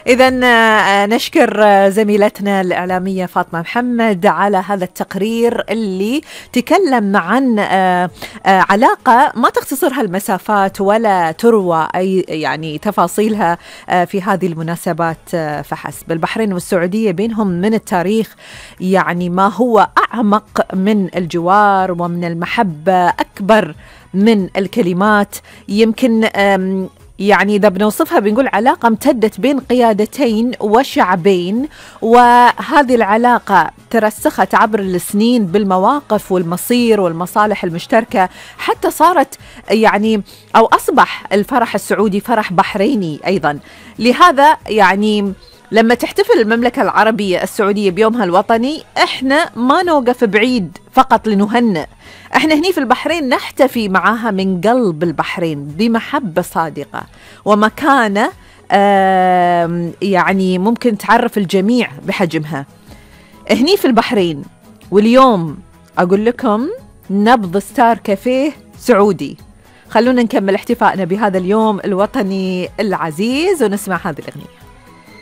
إذا نشكر زميلتنا الإعلامية فاطمة محمد على هذا التقرير اللي تكلم عن علاقة ما تختصرها المسافات ولا تروى أي يعني تفاصيلها في هذه المناسبات فحسب. البحرين والسعودية بينهم من التاريخ يعني ما هو أعمق من الجوار ومن المحبة أكبر من الكلمات. يمكن يعني إذا بنوصفها بنقول علاقة امتدت بين قيادتين وشعبين، وهذه العلاقة ترسخت عبر السنين بالمواقف والمصير والمصالح المشتركة، حتى صارت يعني أو أصبح الفرح السعودي فرح بحريني أيضا. لهذا يعني لما تحتفل المملكة العربية السعودية بيومها الوطني، احنا ما نوقف بعيد فقط لنهنئ، احنا هني في البحرين نحتفي معاها من قلب البحرين بمحبة صادقة ومكانة يعني ممكن تعرف الجميع بحجمها هني في البحرين. واليوم أقول لكم نبض ستار كافيه سعودي. خلونا نكمل احتفائنا بهذا اليوم الوطني العزيز ونسمع هذه الأغنية.